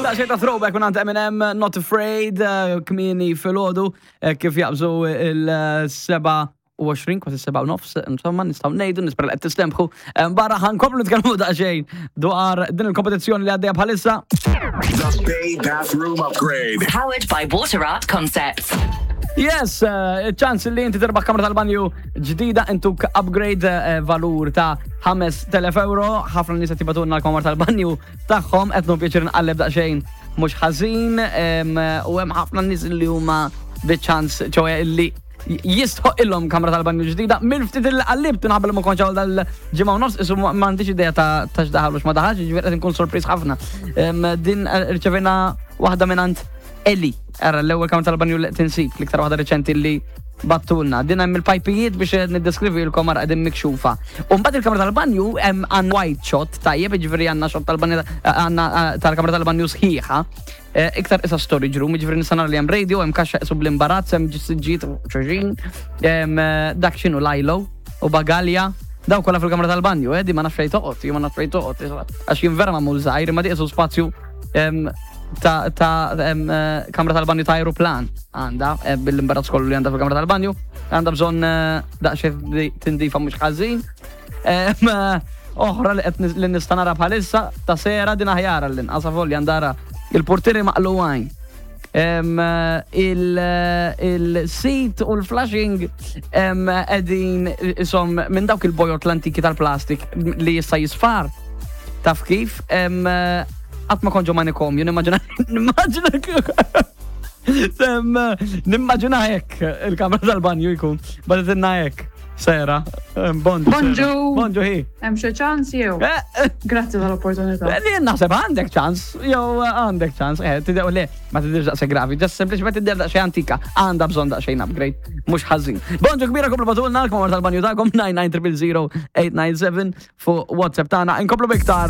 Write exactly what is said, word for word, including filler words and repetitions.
Daqsxejn ta' throwback minn Eminem, Not Afraid, eh, kmieni filgħodu, eh, kif jaqbżu il-seba u għoxrin, kważi seba u nofs, insomma, nistgħu ngħidu, nispera li qed tistemħu. Eh, Barra ħa nkomplu nitkellmu daqsxejn dwar din il-kompetizzjoni li għaddejja bħalissa. The Bay Bathroom Upgrade. Powered by Water Art Concepts. Yes, eh, ċans li inti terbaħ kamra tal-banju ġdida, intuk upgrade eh, valur ta' ħamest elef euro. Ħafna nies qed jibagħtulna l-kamra tal-banju tagħhom, qed nieħu pjaċir nqalleb daqsxejn mhux ħażin, em, u hemm ħafna nies li huma biċ-ċans, ċoè li jistħoq kamra tal-banju ġdida. Mill-ftit il qallibt minħabba li ma kontx hawn dal-ġimgħa u nofs, isu m'għandix idea ta' ta' x'daħal u x'ma daħalx, ġifieri qed inkun sorpriż ħafna. Em, Din eh, rċevejna waħda minn Eli, ara l-ewwel kamra tal-banju li tinsib, l-iktar waħda reċenti li bagħtulna. Din hemm il-pajpijiet, biex niddeskrivilkom, ara qegħdin mikxufa. U mbagħad il-kamra tal-banju hemm għan wide shot, tajjeb, jiġifieri għandna shot tal-banju, għandna eh, tal-kamra tal-banju sħiħa. Eh, Iktar isa storage room, jiġifieri nista' nara li hemm radio, hemm kaxxa isu bl-imbarazz, hemm siġġijiet u xulxin, hemm eh, dak x'inhu lajlo u bagalja. Daw kollha fil-kamra tal-banju, eh, di ma nafx fejn toqgħod, jien ma nafx fejn toqgħod, għax jien vera magħmul żgħir, imma di isu spazju em, ta' ta' em, eh, kamra tal-banju ta' aeroplan għandha, eh, bil-imbarazz kollu li għandha fil-kamra tal-banju, għandha bżonn eh, daqsxejn di- tindifa mhux ħażin. Em, eh, Oħra li qed nis- li nista' nara bħalissa ta' sera din aħjar l-inqas folli għandara il-portieri maqluwajn. Em, eh, il- Il-seat u l-flushing em, qegħdin isom minn dawk il-bojot l-antiki tal-plastik li jista' jisfar. Taf kif? Em, eh, Qatt ma kont ġo manikomju, nimmaġina nimmaġina Sem, nimmaġina hekk il-kamra tal-banju jkun. Bagħtitilna hekk. Sera. Em, Bonġu. Bonġu. Sera. Bonġu hi. Hemm xi ċans jew? Eh, eh, Grazzi tal-opportunità. Li naħseb għandek ċans, jew għandek ċans, eh, tidew le, ma tidirx daqshekk gravi, just sempliċement tidher daqsxejn antika, għandha bżonn daqsxejn upgrade, mhux ħażin. Bonġu kbira, komplu bagħtulna l-kamra tal-banju tagħkom nine nine zero zero eight nine seven fuq WhatsApp tagħna. Inkomplu biktar.